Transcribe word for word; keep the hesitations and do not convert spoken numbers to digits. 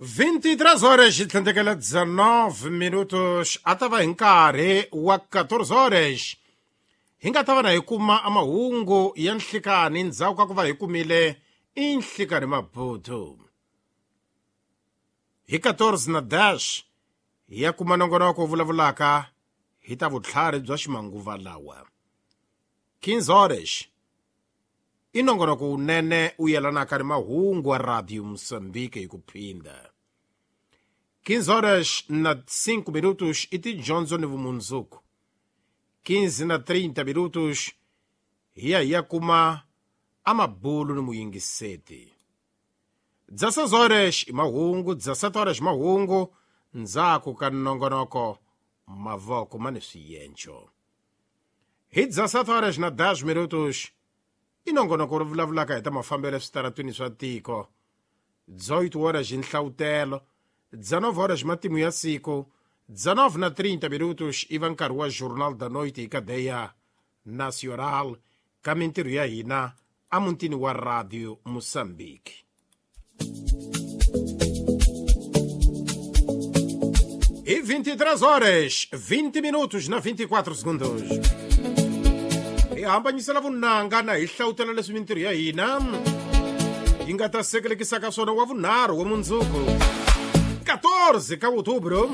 vinte e três horas e tlhandlekela dezenove minutos a ta va hi nkarhi wa quatorze horas hi nga ta va na hi kuma amahungu ya nhlikani ndzhaku ka ku va hi kumile i nhlikani Maputo. Hi quatorze na dash hi ya kuma nongonoko wu vulavulaka hi ta vutlhari bya ximanguva lawa. quinze horas i nongonoko wunene wu yelanaka ni mahungu wa Radio Moçambique hi ku phinda. quinze horas na cinco minutos i tidyondzo ni vumundzuku. quinze na trinta minutos hi ya hi ya kuma amabulu ni muyingiseti. dezesseis horas i mahungu, dezessete horas mahungu ndzhaku ka nongonoko mavoko ma ni swiyencho. Hi dezessete horas na dez minutos i nongonoko ri vulavulaka hi ta mafambelo eswitaratwini swa tiko. dezoito horas hi nhlawutelo, dezenove horas matimu ya siku, dezenove na trinta minutos i va nkarhi wa Jornal da Noite hi Cadeia Nacional ka mintirho ya hina emutini wa Radio Moçambique. E vinte e três horas, vinte minutos na vinte e quatro segundos. Hi hambanyisela vunanga na hi hlawutela leswi mintirho ya hina yi nga ta sekelekisaka swona wa vunharhu wa mundzuku quatorze ka outubro.